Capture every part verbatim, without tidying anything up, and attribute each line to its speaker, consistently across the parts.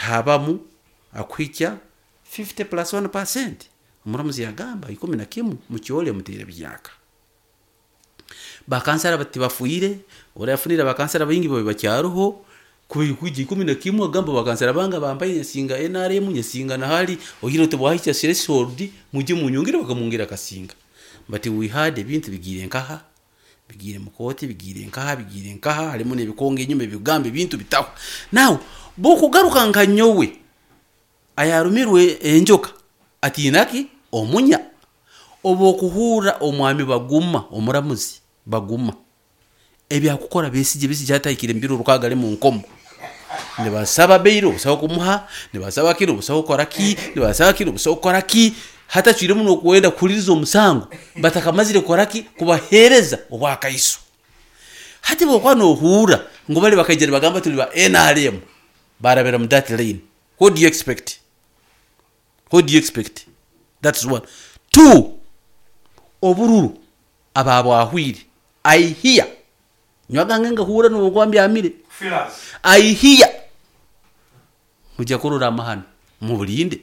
Speaker 1: Habamu akuhikya fifty plus one percent. Omuramuzi yagamba ikumi na kimu mukyole muteere byaka. Bakansara bati bafuire, orafunira bakansara baingi babe bakyaruho kwija ikumi na kimu agamba bakansara banga bambaye nsinga N R M nsinga na hali oyiro tebwahikya threshold muje munyongere bakamwongera kasinga. But we had ebintu bigire nkaha, bigire mukoti, bigire nkaha, bigire nkaha, halimu n'ebikonge enyuma ebigambo ebintu bitaho. Now bokugaruka nka nyowe ayarumirwe enjoka atinaki omunya obokuhura omwami Baguma omuramuzi Baguma ebyakukora Besigye Besigye atahikire mbiro rukaga ali mu nkomo nibasaba bail busaho kumuha nibasaba kiro busaho kukora ki nibasaba kiro busaho kukora ki hatachwire muno kwenda kuhuliriza omusango batakamazire kukora ki kubahereza obwakaiso. Hati bokwa nohura ngo bali bakaijera bagamba tuli ba N R M barabera mu that lane. What do you expect? What do you expect? That's one. Two, obururu ababwahwire I hear nywagange ngahura n'obwambi amire I hear mujya kurura amahano mubulinde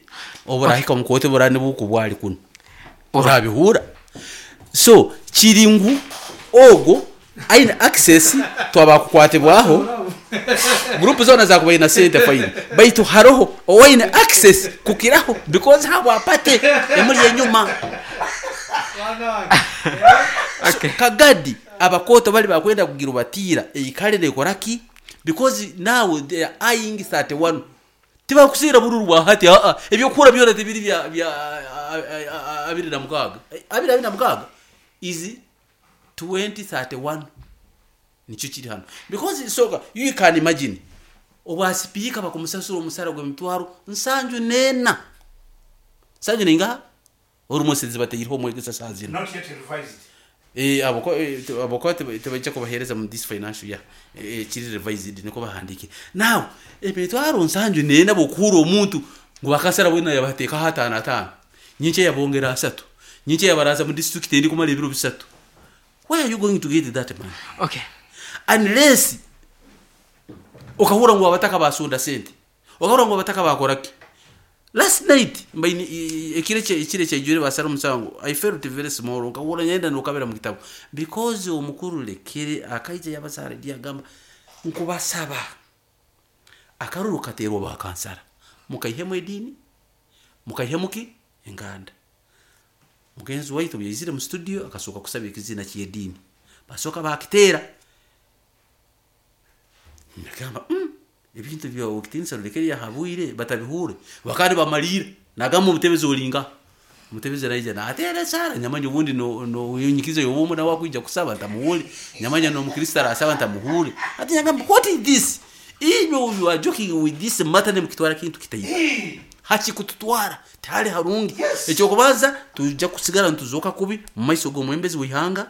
Speaker 1: oburahika mukote burane bukubwali kuno orabihura. So kiringu ogo aina access twabakukwatibwaho group zona zakubaina na sente fine baitu haroho owaina access kukiraho because habo apate emuli enyuma.
Speaker 2: Okay.
Speaker 1: So, Kagadi abakoto bali bakwenda kugira batira eikalire koraki because now they are eyeing thirty-one tibakusira bururu bwa hati a a ebyo kura byona tibiri bya bya abiri na mukaga abiri abiri na mukaga is twenty thirty-one nicho kiri hano because soka you can imagine obwa speaker bakumusasura omusara gwe mitwaro nsanju nena nsanju ninga orumosezi bateyirho omwegesa sazina
Speaker 3: not yet revised.
Speaker 1: Eh aboko aboko tebajja kubahereza mu this financial year eh kiri revised niko bahandike now emitwaro nsanju nena bokura omuntu ngo bakasara bwena yabateka hatana atano nyinche yabongera asatu nyinche yabaraza mu district endi kumala ebiro bisatu. Where are you going to get that money?
Speaker 2: Okay.
Speaker 1: Unless okahura ngo abataka basunda sente okahura ngo abataka bakoraki. Last night mbaini ekire che ekire che jure basara musango I felt very small okahura nyenda nokabera mu kitabo because omukuru lekere akaije yabasara dia gamba nkubasaba akaruru katerwa bakansara mukaihemu edini mukaihemuki enganda. Mugenzi waitu yizire mu studio akasoka kusaba ekizina ky'edini basoka bakitera nakamba mm, ebintu bya okitinsa lekere yahabwire batabihure bakari bamalira nagamba omutebezi olinga omutebezi raija na atera sara nyamanya ubundi no no yinyikizo yobumu na wakwija kusaba ntamuhule nyamanya no mukristo arasaba ntamuhule ati nyagamba what is this inyo you are joking with this matter ne mukitwara kintu kitayi hachi kututwara tali harungi.
Speaker 3: Yes.
Speaker 1: Ekyo kubanza tujja kusigala ntuzoka kubi mu maiso g'omwembezi w'ihanga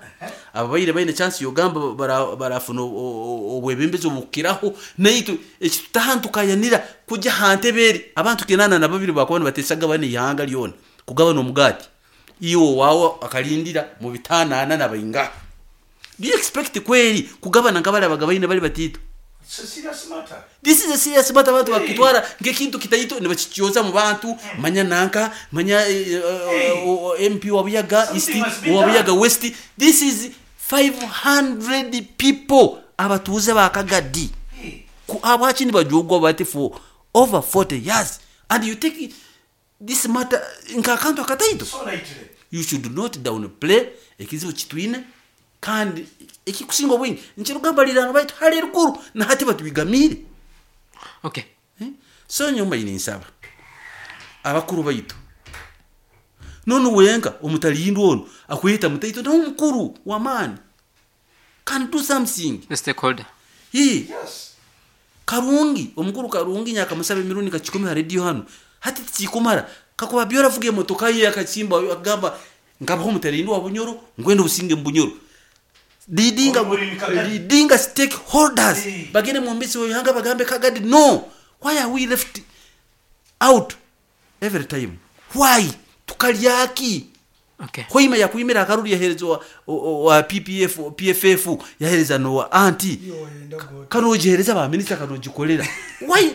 Speaker 1: ababaire baine chance yogamba barafuna obwebembezi obukiraho naitu ekitutahantukayanira kujja hanteberi abantu kinana na babiri bakubona batesaga bane ihanga lyona kugabana omugati iyo wawo akalindira mu bitanana nabainga. Do you expect kweli kugabana nkabale abagabaine bali batito?
Speaker 3: It's a serious matter.
Speaker 1: This is a serious matter. Abantu bakitwara ngekintu kitayito ne bakikyoza mu bantu manya nanka manya uh, uh, M P wa Buyaga East wa Buyaga West. This is five hundred people abatuuze ba Kagadi abaki ni bajogwa bati for over forty years and you take this matter nkakantu akatayito.
Speaker 3: So lightly.
Speaker 1: You should not downplay ekizibu kitwine kandi ekikusinga obwingi nchirugamba lirano baitu hali rukuru na hati batubigamire.
Speaker 2: Okay.
Speaker 1: Eh? So nyuma ininsaba abakuru baitu nono wenga omutalindwa ono akwita mutaito na omukuru wa mani can do something
Speaker 2: the stakeholder.
Speaker 1: He
Speaker 3: Yes.
Speaker 1: Karungi omukuru Karungi nyaka musabe mirundi kachikumi ha radio hano hati tichikumara kakuba byora vuge motoka ye akachimba agamba ngabaho omutalindwa wa Bunyoro ngwende obusinge mu Bunyoro leadinga leadinga stakeholders bagende mu mbisi w'ihanga bagambe Kagadi no why are we left out every time why tukalyaki?
Speaker 2: Okay.
Speaker 1: Hoima yakuimira akaruru yaherezwa wa P P F P F F yahereza no wa anti kanojehereza ba minister kanojikolera why